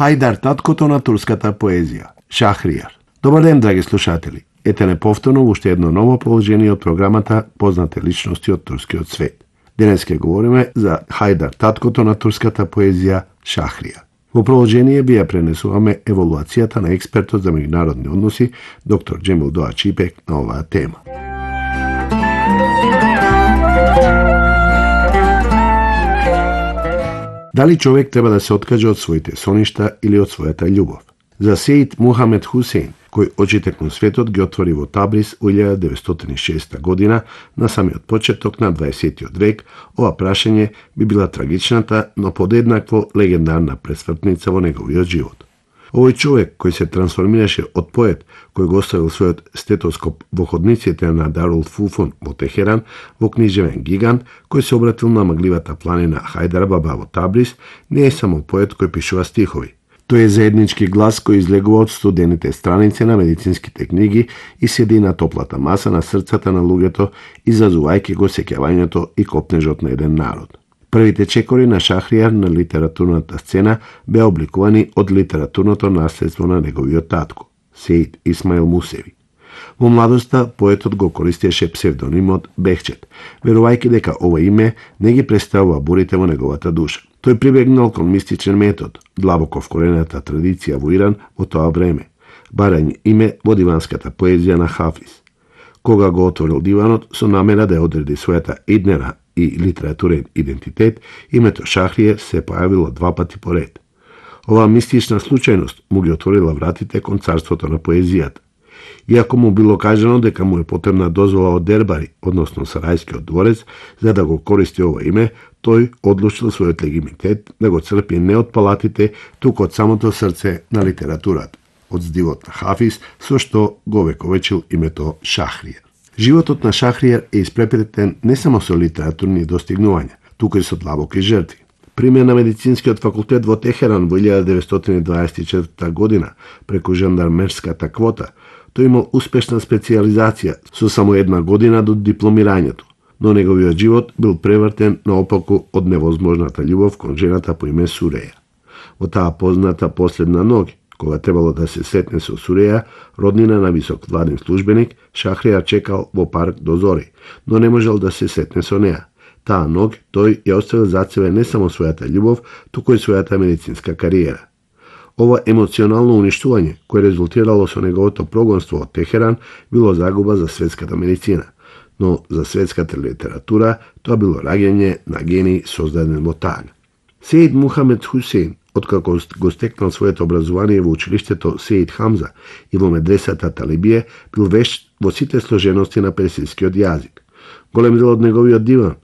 Хајдар, таткото на турската поезија, Шахријар. Добар ден, драги слушатели. Ете неповторно уште едно ново положение од програмата Познати личности од турскиот свет. Денес ќе говориме за Хајдар, таткото на турската поезија, Шахријар. Во продолжение би ја пренесуваме еволуацијата на експертот за меѓународни односи, доктор Џемил Доачипек, на оваа тема. Дали човек треба да се откаже од своите соништа или од својата љубов? За Сеид Мухамед Хусейн, кој очите кон светот ги отвори во Табриз во 1906 година, на самиот почеток на 20 век, ова прашање би била трагичната, но подеднакво легендарна пресвртница во неговиот живот. Овој човек кој се трансформираше од поет, кој го оставил својот стетоскоп во ходниците на Дарул Фуфун во Техеран, во книжевен гигант, кој се обратил на магливата планина Хајдар Баба во Табриз, не е само поет кој пишува стихови. Тој е заеднички глас кој излегува од студените страници на медицинските книги и седи на топлата маса на срцата на луѓето, изазувајќи го сеќавањето и копнежот на еден народ. Првите чекори на Шахријар на литературната сцена беа обликувани од литературното наследство на неговиот татко, Сеид Исмаил Мусеви. Во младоста поетот го користеше псевдонимот Бехчет, верувајќи дека ова име не ги представува бурите во неговата душа. Тој прибегнал кон мистичен метод, длабоко вкорената традиција во Иран во тоа време, барање име во диванската поезија на Хафиз. Кога го отворил диванот со намера да ја одреди својата иднера и литературен идентитет, името Шахријар се појавило два пати поред. Оваа мистична случајност му ги отворила вратите кон царството на поезијата. Иако му било кажано дека му е потребна дозвола од Дербари, односно Сарајскиот дворец, за да го користи ова име, тој одлучил својот легитимитет да го црпи не од палатите, туку од самото срце на литературата, од здивот на Хафиз, со што го вековечил името Шахријар. Животот на Шахријар е испрепретен не само со литературни достигнувања, туку и со длабоки жртви. Пример на медицинскиот факултет во Техеран во 1924 година, преку жандармерската квота, тој имал успешна специјализација со само една година до дипломирањето, но неговиот живот бил превртен наопаку од невозможната љубов кон жената по име Суреја. Во таа позната последна ноќ, кога требало да се сретне со Суреја, роднина на висок владин службеник, Шахријар чекал во парк до зори, но не можел да се сретне со неа. Таа ноќ тој ја оставил зад себе не само својата љубов, туку и својата медицинска кариера. Ова емоционално уништување, кое резултирало со неговото прогонство од Техеран, било загуба за светската медицина, но за светската литература тоа било раѓање на гений создаден во тага. Сеид Мухамед Хусейн, откако го стекнал своето образование во училиштето Сеид Хамза и во медресата Талибие, бил вешт во сите сложености на персискиот јазик. Голем дел од неговиот диван